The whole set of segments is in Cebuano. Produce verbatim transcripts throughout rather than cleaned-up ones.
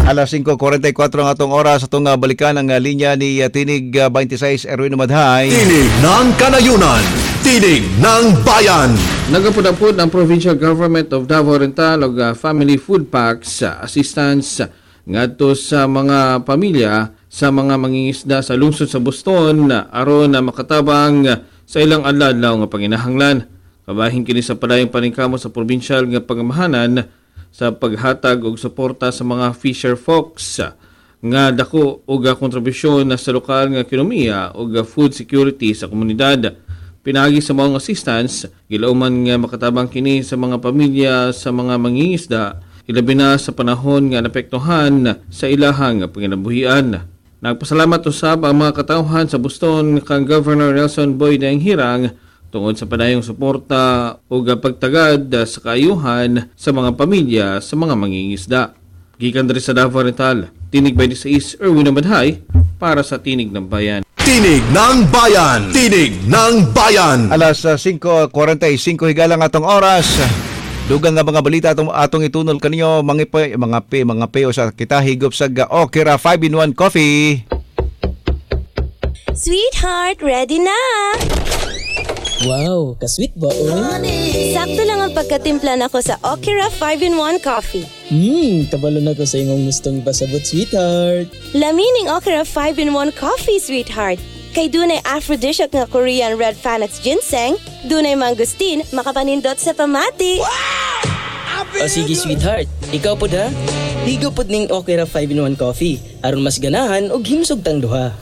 Alas singko kuwarenta y kuwatro ang atong oras, atong uh, balikan ang uh, linya ni uh, Tinig uh, baynte sais, Erwin Madhay. Tinig ng Kanayunan. Tinig ng Bayan. Nagapud-apod ang Provincial Government of Davao Oriental og uh, family food packs uh, assistance ngadto sa mga pamilya sa mga mangingisda sa lungsod sa Buston aron na makatabang sa ilang adlaw nga panginahanglan. Kabahin kini sa padayong paningkamot sa provincial nga pangamahanan sa paghatag og suporta sa mga fisher folks nga dako og kontribusyon sa lokal nga ekonomiya ug food security sa komunidad. Pinaagi sa maong assistance, gilauman nga makatabang kini sa mga pamilya sa mga mangingisda, ilabi na sa panahon nga naapektuhan sa ilahang panginabuhian. Nagpasalamat usab ang mga katawhan sa Buston kang Governor Nelson Boy Dayanghirang tungod sa padayong suporta ug pagtagad sa kaayuhan sa mga pamilya sa mga mangingisda. Gikan diri sa Davao Oriental, Tinig baynte sais, Erwin Abadhay para sa Tinig ng Bayan. Tinig ng Bayan. Tinig ng Bayan. Alas uh, singko kuwarenta y singko higala ang atong oras. Dugang nga mga balita atong atong itunol kaninyo, mga pe, mga pe, mga pe sa kita higop sa Okra five in one Coffee. Sweetheart, ready na! Wow, kasweet ba, oy? Sakto lang ang pagkatimpla nako sa Okra five in one Coffee. Hmm, kabalo na ko sa imong gustong ipasabot, sweetheart. Lami ning Okra five in one Coffee, sweetheart. Kay dunay aphrodisiac nga Korean Red Panax ginseng, dunay mangosteen, makapanindot sa pamati. O sige, sweetheart. Ikaw pod ha? Higop pod ning Okra five in one Coffee aron mas ganahan og himsog tang duha.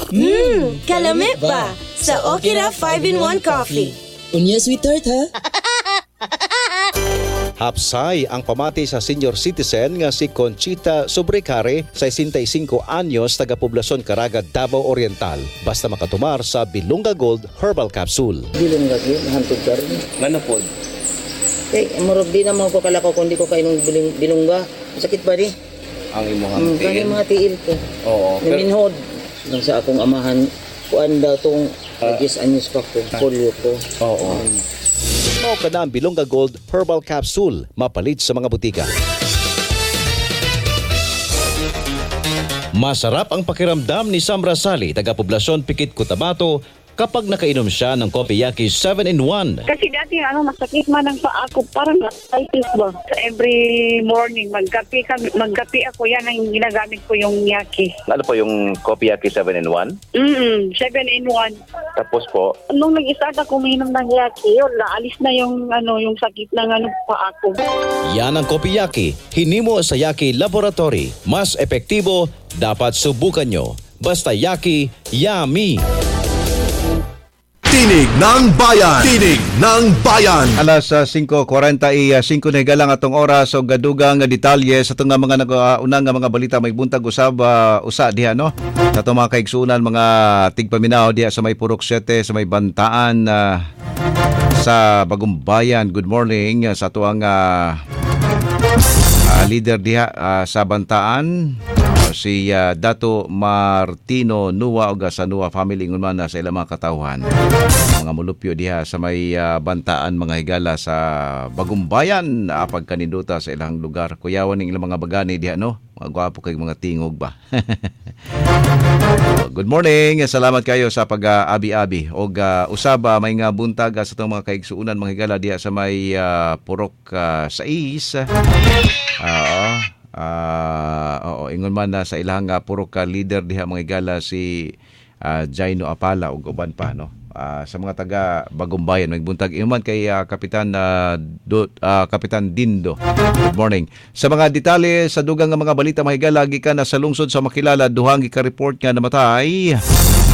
Mmm, kalami ba? Sa Okra five in one Coffee. Unya, sweetheart, ha? Hapsay ang pamati sa senior citizen nga si Conchita Sobrecare, sesenta y singko anyos, taga Poblasyon Caraga, Davao Oriental, basta makatumar sa Bilonga Gold Herbal Capsule. Dili mo lagi, hantod ka rin. Ngano pod? Eh, murag di naman ko kalakaw kung di ko kainom biling, bilongga. Sakit ba di? Ang imong Mm, tiil? kani mga tiil ko. Oo. Pero, Naminhod. Lang sa akong amahan, kuan daw tong uh, ten anyos pa ko, polio ko. Oo. Mao kana ang Bilonga Gold Herbal Capsule, mapalit sa mga butika. Masarap ang pakiramdam ni Sam Rasali, taga Poblasyon Pikit, Cotabato, kapag nakainom siya ng Kopiyaki seven in one. Kasi dati ano, masakit man ang paa ko, parang arthritis ba? So every morning, magkape, kami, magkape ako, yan ang ginagamit ko, yung Yaki. Ano po yung Kopiyaki seven in one? Mm, seven in one. Tapos po? Nung nag-start ako uminom ng Yaki, yun, naalis na yung, ano, yung sakit ng ano, paa ko. Yan ang Kopiyaki, hinimo sa Yaki Laboratory. Mas epektibo, dapat subukan nyo. Basta Yaki, yummy! Tinig ng Bayan. Tinig ng Bayan. Alas uh, singko kuwarenta y singko na higala ang atong oras og dugang nga detalye sa atong nga mga nag-unang nga mga balita may buntag usab uh, usa diha, no, sa atong mga kaigsunan, mga tigpaminaw diha sa may Purok siyete, sa may Bantaan, uh, sa Bagumbayan. Good morning uh, sa atuang uh, uh, leader diha uh, sa Bantaan, uh, si uh, Dato Martino Nua og sa Nua family, ingon man na sa ilang mga katawhan, mga mulupyo diha sa may uh, Bantaan, mga higala, sa Bagumbayan, uh, pagkaninduta sa ilang lugar. Kuyawan ning ilang mga bagani diha, no, mga gwapo kay mga tingog ba. Good morning. Salamat kayo sa pag-abi-abi. Og uh, usaba may nga buntag uh, sa itong mga kaigsuunan, mga higala, diha sa may uh, Purok uh, sais. Oo. Ah, oo, ingon man na sa ilang uh, purok ka leader diha, mga higala, si uh, Jaino Apala ug uban pa, no. Ah, sa mga taga Bagumbayan, magbuntag ingon man kay ah, Kapitan uh, Do, ah, Kapitan Dindo. Good morning. Sa mga detalye sa dugang nga mga balita, mga higala, gikan na sa lungsod sa Makilala, duhang gika-report nga namatay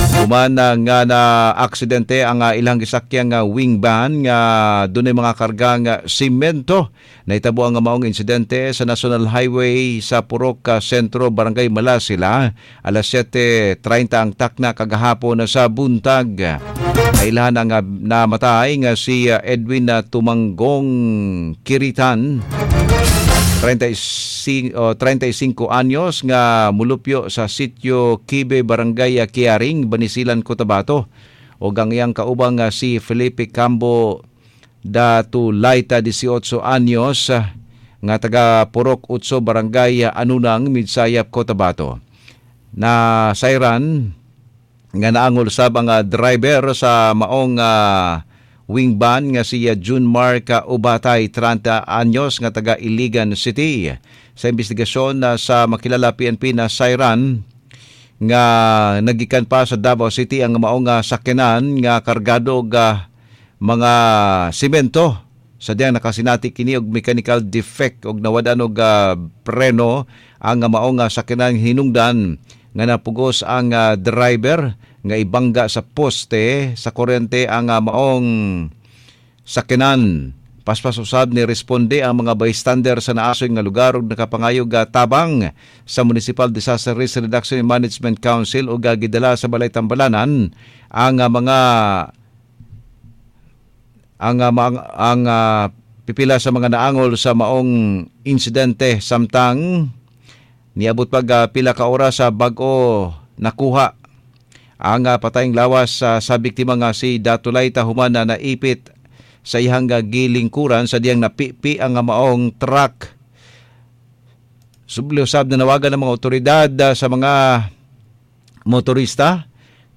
human na nga na aksidente ang uh, ilang gisakyang nga wing van nga dunay mga kargang uh, simento. Nahitabo ang maong insidente sa National Highway sa Purok uh, Sentro, Barangay Malasila, alas siyete treinta ang takna kagahapon sa buntag. Kailan ang uh, namatay nga si uh, Edwin uh, Tumanggong Kiritan, treinta y singko, oh, treinta y singko anyos, nga mulupyo sa sitio Kibe, Barangay Kiaring, Banisilan, Cotabato. O ang iyang kaubang nga si Felipe Cambo Datulaita, labing walo anyos, nga taga Purok Utso, Barangay Anunang, Midsayap, Cotabato. Na sayran nga naangol sab ang uh, driver sa maong uh, wing van nga si uh, June Mark Ubatay, trenta anyos, nga taga Iligan City. Sa investigasyon uh, sa makilala P N P na sayran nga nagikan pa sa Davao City ang maong uh, sakyanan nga kargado og uh, mga simento sa diyang nakasinati kini og mechanical defect og nawadan og uh, preno ang uh, maong uh, sakyanan hinungdan nga napugos ang uh, driver nga ibangga sa poste sa kuryente ang uh, maong sakyanan. Paspas usab ni responde ang mga bystander sa naasoy nga lugar ug nakapangayog uh, tabang sa Municipal Disaster Risk Reduction and Management Council ug uh, gidala sa Balay Tambalanan ang uh, mga ang uh, ang, ang uh, pipila sa mga naangol sa maong insidente samtang niabot pag uh, pila ka oras sa bag-o nakuha ang uh, patayng lawas uh, sa biktima nga si Datulay Tahuman na naipit sa iyang uh, gilingkuran sa diyang napipi ang uh, maong truck. Subli usab na nawagan ng mga otoridad uh, sa mga motorista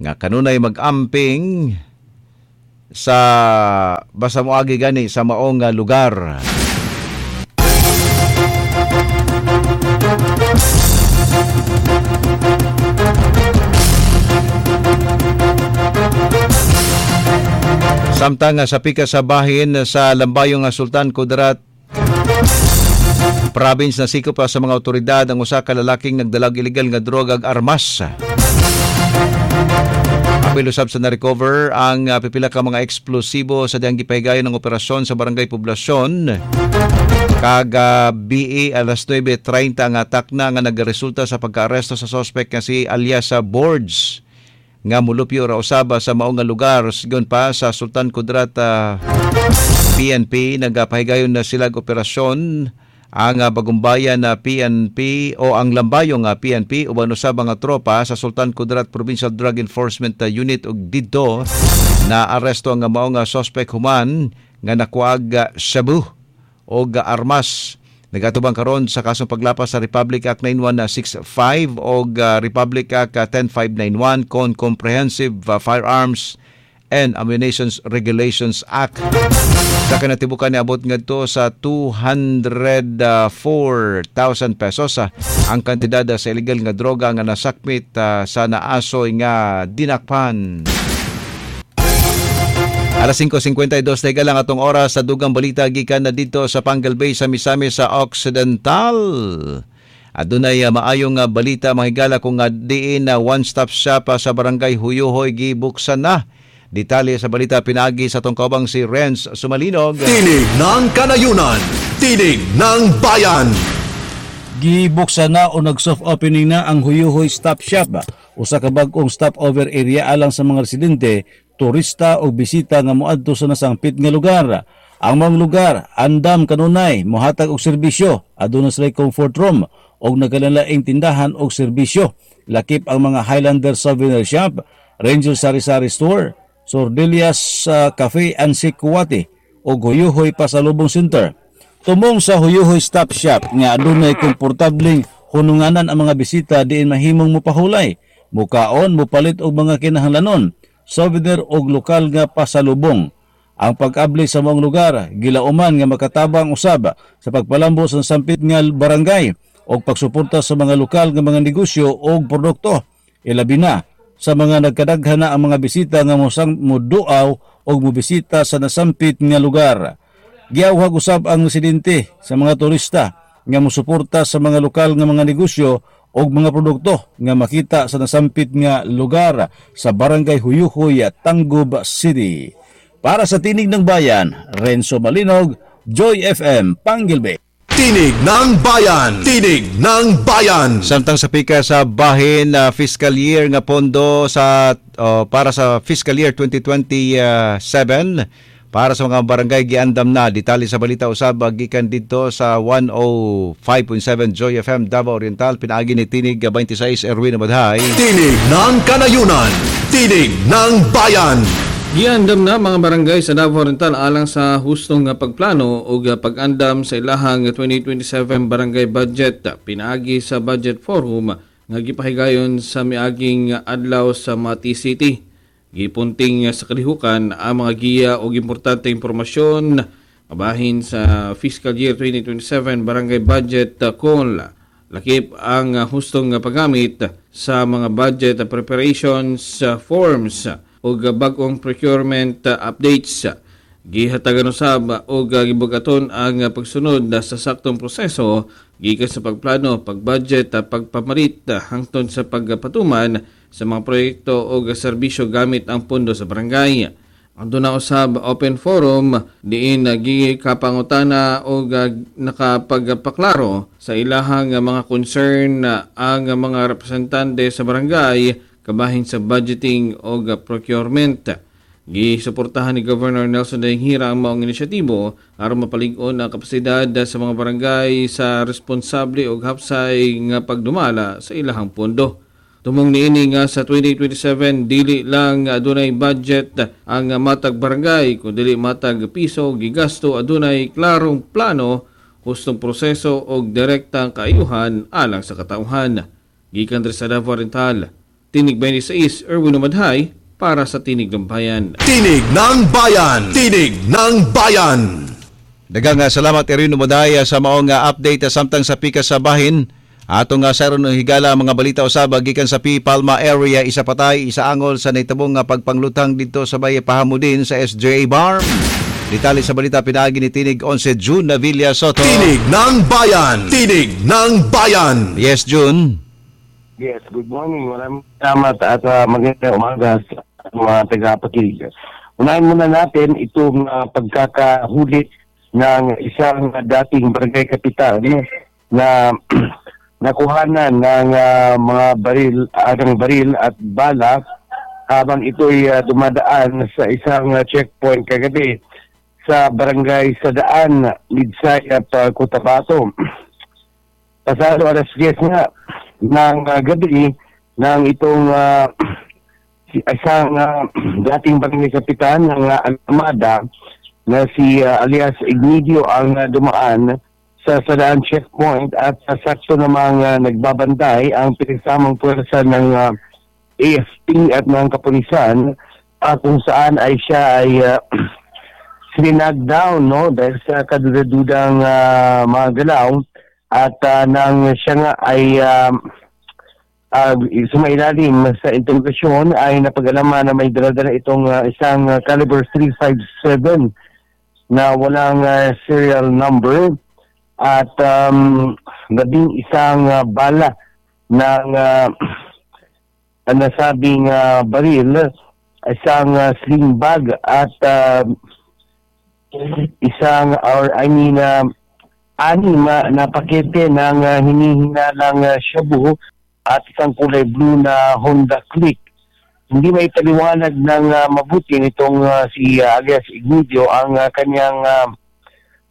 nga kanunay mag-amping sa basta moagi gani sa maong uh, lugar. Samtang sa pika sa bahin sa Lambayong Sultan Kudarat Province na sikop sa mga otoridad ang usa ka lalaking nagdalag illegal nga droga ag armas. Apil usab sa na-recover ang uh, pipila ka mga eksplosibo sa diyang gipahigayon ng operasyon sa Barangay Poblasyon. Kag uh, B E alas nuwebe treinta ang atak na nga nagresulta sa pagkaaresto sa suspect nga si alias sa Boards nga mulupyo ra usaba sa maong nga lugar. Sigon pa sa Sultan Kudarat uh, P N P nagapahigayon na sila operasyon ang uh, Bagumbayan na P N P o ang Lambayong uh, P N P uban usab ang tropa sa Sultan Kudarat Provincial Drug Enforcement Unit ug didto na aresto ang maong uh, suspect human nga nakuag uh, shabu og uh, armas. Nagatubang karon sa kasong paglapas sa Republic Act nine one six five o uh, Republic Act ten five nine one con Comprehensive uh, Firearms and Ammunition Regulations Act. Sa kinatibukan niabot ngadto sa two hundred four thousand pesos uh, ang kantidad sa illegal nga droga nga nasakmit uh, sa naasoy nga dinakpan. Alas singko singkwenta y dos na lang atong oras sa dugang balita gikan na dito sa Pangal Bay sa Misamis sa Occidental. Adunay uh, maayong uh, balita mga higala kung uh, diin na uh, one-stop shop uh, sa Barangay Huyuhoy gibuksan na. Detalye sa balita pinagi sa atong kaubang si Renz Sumalinog. Tinig ng Kanayunan, Tinig ng Bayan. Gibuksan na o nag-soft opening na ang Huyuhoy Stop Shop, usa ka bag-ong stopover area alang sa mga residente, turista o bisita nga moadto sa nasangpit nga lugar. Ang mga lugar andam kanunay mohatag og serbisyo, aduna sila comfort room og nagkalalaing tindahan og serbisyo. Lakip ang mga Highlander Souvenir Shop, Ranger Sari-Sari Store, Sordelias uh, Cafe and Sikwati og Huyuhoy Pasalubong Center. Tumong sa Huyuhoy Stop Shop nga adunay komportableng hununganan ang mga bisita diin mahimong mopahulay, mukaon, mupalit og mga kinahanglanon, souvenir og lokal nga pasalubong. Ang pag-abli sa maong lugar gilauman nga makatabang usab sa pagpalambo sa sampit nga barangay og pagsuporta sa mga lokal nga mga negosyo og produkto. Ilabi na sa mga nagkadaghan na ang mga bisita nga mosang moduaw og mobisita sa nasampit nga lugar. Giawhag usab ang residente sa mga turista nga mosuporta sa mga lokal nga mga negosyo og mga produkto nga makita sa nasampit nga lugar sa Barangay Huyuhoy, Tangub City. Para sa Tinig ng Bayan, Renzo Malinog, Joy F M, Panguil Bay. Tinig ng Bayan! Tinig ng Bayan! Samtang sa pika sa bahin uh, fiscal year nga pondo sa uh, para sa fiscal year twenty twenty-seven para sa mga barangay giandam na. Detalye sa balita usab gikan dito sa one oh five point seven Joy F M Davao Oriental, pinaagi ni Tinig twenty-six Erwin Abadhay. Tinig ng Kanayunan, Tinig ng Bayan. Giandam na mga barangay sa Davao Oriental alang sa hustong nga pagplano ug pag-andam sa ilahang twenty twenty-seven barangay budget pinaagi sa budget forum nga gipahigayon sa miaging adlaw sa Mati City. Gipunting sa kalihukan ang mga giya ug importante impormasyon kabahin sa fiscal year twenty twenty-seven barangay budget call. Lakip ang hustong paggamit sa mga budget preparations forms ug bag-ong procurement updates. Gihatagan usab og gibugaton ang pagsunod sa saktong proseso gikan sa pagplano, pagbudget, pagpamalit hangtod sa pagpatuman sa mga proyekto o serbisyo gamit ang pondo sa barangay. Aduna usab open forum diin gikapangutana og nakapagpaklaro sa ilahang mga concern ang mga representante sa barangay kabahin sa budgeting o procurement. Gisuportahan ni Governor Nelson Dayanghirang ang maong inisyatibo aron mapalig-on ang kapasidad sa mga barangay sa responsable ug hapsay nga pagdumala sa ilahang pondo. Tumong niini nga sa twenty twenty-seven, dili lang adunay budget ang matag barangay kundi matag piso gigasto adunay klarong plano, hustong proseso ug direktang kaayuhan alang sa katawhan. Gikan diri sa Davao Oriental, Tinig twenty-six, Erwin Umadhay para sa Tinig ng Bayan. Tinig ng Bayan! Tinig ng Bayan! Daghang salamat, Erwin Umadhay, sa maong update. Samtang sa pikas sa bahin atong uh, saron ng higala mga balita usab gikan sa P. Palma area, isa patay, isa angol sa nahitabong nga pagpanglutang dito sa Baye Pahamudin sa S J A Bar. Detalye sa balita pinaagi ni Tinig eleven June Navilla Soto. Tinig ng Bayan! Tinig ng Bayan! Yes, June. Yes, good morning. Maraming salamat at uh, magandang umaga sa mga tagapakinig. Unahin muna natin itong uh, pagkakahuli ng isang dating barangay kapitan na nakuhanan ng uh, mga baril, uh, ng baril at bala habang ito'y uh, dumadaan sa isang uh, checkpoint kagabi sa barangay Sadaan, Midsayap, uh, Cotabato. Pasado alas diyes nga ng uh, gabi ng itong uh, isang uh, dating barangay kapitan ng uh, Alamada na si uh, alias Ignidio ang uh, dumaan sa Sadaan checkpoint at sa sakto namang uh, nagbabantay ang pinagsamang puwersa ng uh, A F P at ng kapulisan uh, kung saan ay siya ay uh, sinag down, no, dahil sa kaduda-dudang uh, mga galaw at uh, nang siya nga ay uh, uh, sumailalim sa interrogasyon ay napag-alaman na may dala-dala itong uh, isang uh, caliber three fifty-seven na walang uh, serial number at um, labing isang uh, bala ng uh, nasabing uh, baril, isang uh, sling bag at uh, isang or I mean uh, anim uh, na pakete ng uh, hinihinalang uh, shabu at isang kulay blue na Honda Click. Hindi maipaliwanag ng uh, mabuti nitong uh, si uh, alias Ignidio ang uh, kanyang uh,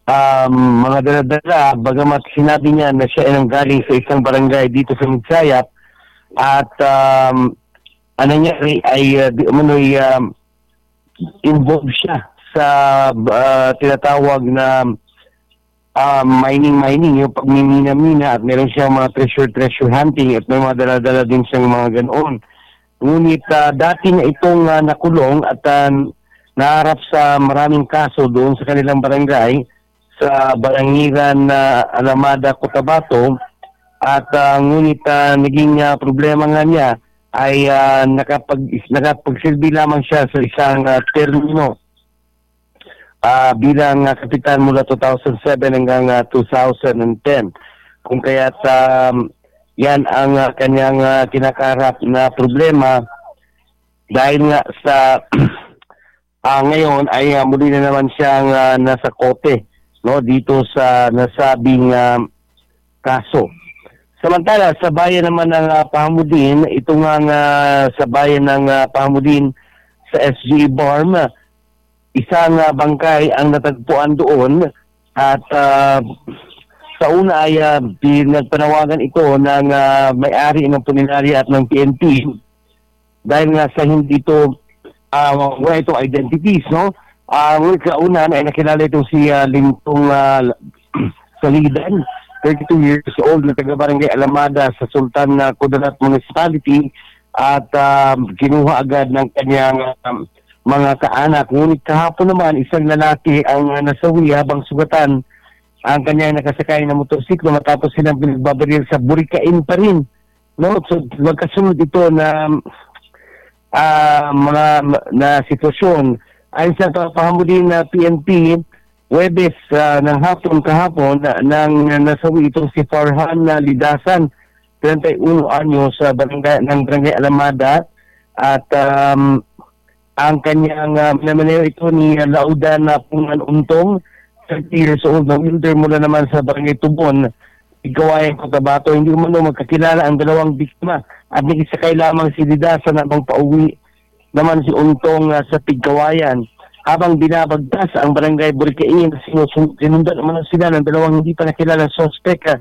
um, mga dala-dala, bagamat sinabi niya na siya ay nanggaling sa isang barangay dito sa Midsayap at um, ano nangyari ay uh, di umano'y um, involved siya sa uh, tinatawag na uh, mining-mining, yung pagmimina-mina, at meron siyang mga treasure-treasure hunting at may mga dala-dala din siyang mga ganoon. Ngunit uh, dati na itong uh, nakulong at uh, naharap sa maraming kaso doon sa kanilang barangay sa Barangiran na uh, Alamada, Cotabato at uh, ngunit uh, naging uh, problema nga niya ay uh, nakapag, nakapagsilbi lamang siya sa isang uh, termino uh, bilang uh, kapitan mula two thousand seven hanggang uh, twenty ten. Kung kaya't um, yan ang uh, kanyang uh, kinakaharap na problema dahil nga sa uh, ngayon ay uh, muli na naman siyang uh, nasa korte, no, dito sa nasabing uh, kaso. Samantala, sa bayan naman ng uh, Pahamudin, ito nga uh, sa bayan ng uh, Pahamudin sa S G Barm, isang uh, bangkay ang natagpuan doon at uh, sa una ay uh, pinagpanawagan ito ng uh, may-ari ng punerarya at ng P N P dahil nga sa hindi ito Uh, wala itong identities, no? Uh, ngunit kaunan ay nakilala itong si uh, Lintong uh, Salidan, thirty-two years old, na taga Barangay Alamada sa Sultan uh, Kudarat Municipality, at um, kinuha agad ng kanyang um, mga kaanak. Ngunit kahapon naman, isang lalaki ang uh, nasawi habang sugatan ang kanyang nakasakay na motorsiklo matapos silang pinagbabaril sa Burikain pa rin. No? So magkasunod ito na uh, mga na sitwasyon. Ayon sa pahamuli na P N P, Huwebes uh, ng hapon kahapon na, nang nasawi itong si Farhan na Lidasan, thirty-one anyo sa barangay, ng Barangay Alamada, at um, ang kanyang uh, minamaneho ito ni Laudan na Pungan Untong, thirty years old, na welder mula naman sa Barangay Tubon, Igawayan, Cotabato. Hindi umano magkakilala ang dalawang biktima at nakisakay lamang si Lidasan habang pauwi naman si Untong uh, sa Pigkawayan. Habang binabagtas ang Barangay Burikain, sinundan naman sila ng dalawang hindi pa nakilala suspect uh,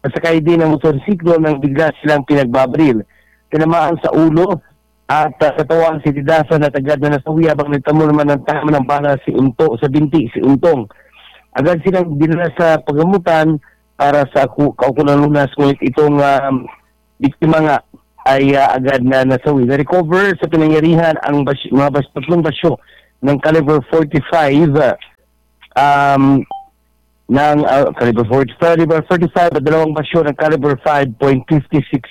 nasakay din ng motorsiklo nang bigla silang pinagbabaril. Tinamaan sa ulo at uh, katawan si Lidasan at agad na nasawi habang nagtamo naman ng tama ng bala si Unto, sa binti si Untong. Agad silang dinala sa pagamutan para sa kaukulang lunas, ngunit itong um, biktima nga ay uh, agad na nasawi. Na-recover sa pinangyarihan ang bas- mga bas- tatlong basyo ng caliber forty-five, um, ng uh, caliber forty-five, caliber forty-five at dalawang basyo ng caliber five point five six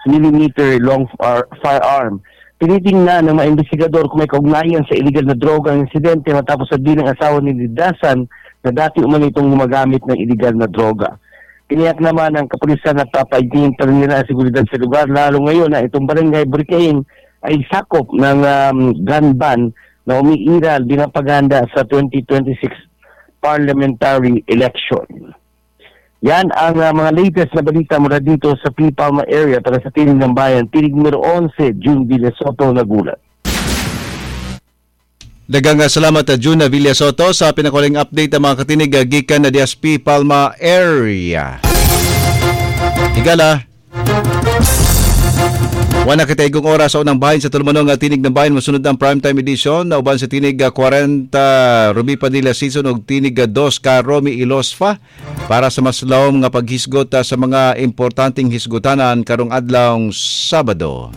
millimeter long uh, firearm. Tinitingnan ng mga investigador kung may kaugnayan sa illegal na droga ang insidente matapos sabihin ng asawa ni Lidasan na dati umano itong gumagamit ng illegal na droga. Tiniyak naman ng kapulisan na papaigtingin pa rin nila ang seguridad sa lugar, lalo ngayon na itong Barangay Burikain ay sakop ng um, gun ban na umiiral binapaganda sa twenty twenty-six parliamentary election. Yan ang uh, mga latest na balita mula dito sa P. Palma area para sa Tinig ng Bayan. Tinig numero eleven, June Villasoto, nagulat. Daghang salamat June Villasoto sa pinakuling update ang mga katinig gikan na D S P Palma area. Higala. Wala kita igong oras sa unang bahin sa tulumanon nga Tinig ng Bayan. Masunod ang primetime edition na uban sa Tinig forty Ruby Padilla season og Tinig two ka Romy Ilosfa para sa mas lawom nga paghisgot sa mga importanteng hisgutanan karong adlawng Sabado.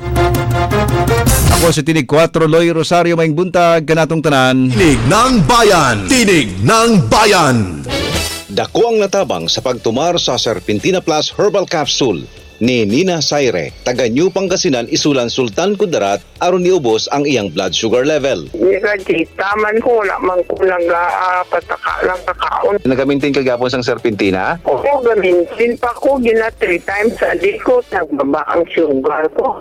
Ako si Tinig four Loy Rosario, maing buntag kanatong tanan. Tinig ng Bayan! Tinig ng Bayan! Dako ang natabang sa pagtumar sa Serpentina Plus Herbal Capsule ni Nina Saire, taga New Pangasinan, Isulan, Sultan Kudarat, aron niubos ang iyang blood sugar level. Nirajita man ko, wala man ko lang uh, pataka lang kakaon. Nagamintin ka gapon sang Serpentina? Oo, gamintin pa ko, gina three times a day ko, nagbaba ang sugar ko.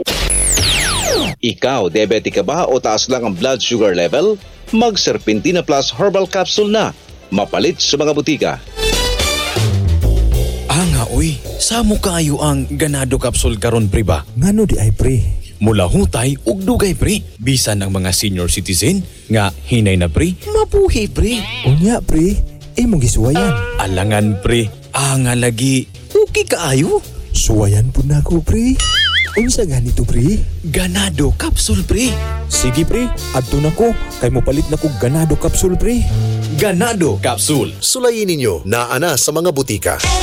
Ikaw, diabetic ka ba o taas lang ang blood sugar level? Mag Serpentina Plus Herbal Capsule na. Mapalit sa mga butika. Anga, uy, samo kaayo ang Ganado Capsule karon pre ba? Ngano di ay pre? Mula hutay ug dugay pre. Bisan ang mga senior citizen nga hinay na pre, mabuhi pre. Unya pre, imong gisuwayan. Alangan pre, anga lagi, okay kaayo. Suwayan pud nako pre. Unsa ganito pre? Ganado Capsule pre. Sige pre, adto nako kay mopalit na kog Ganado Capsule pre. Ganado Capsule. Sulayin ninyo naa na sa mga butika.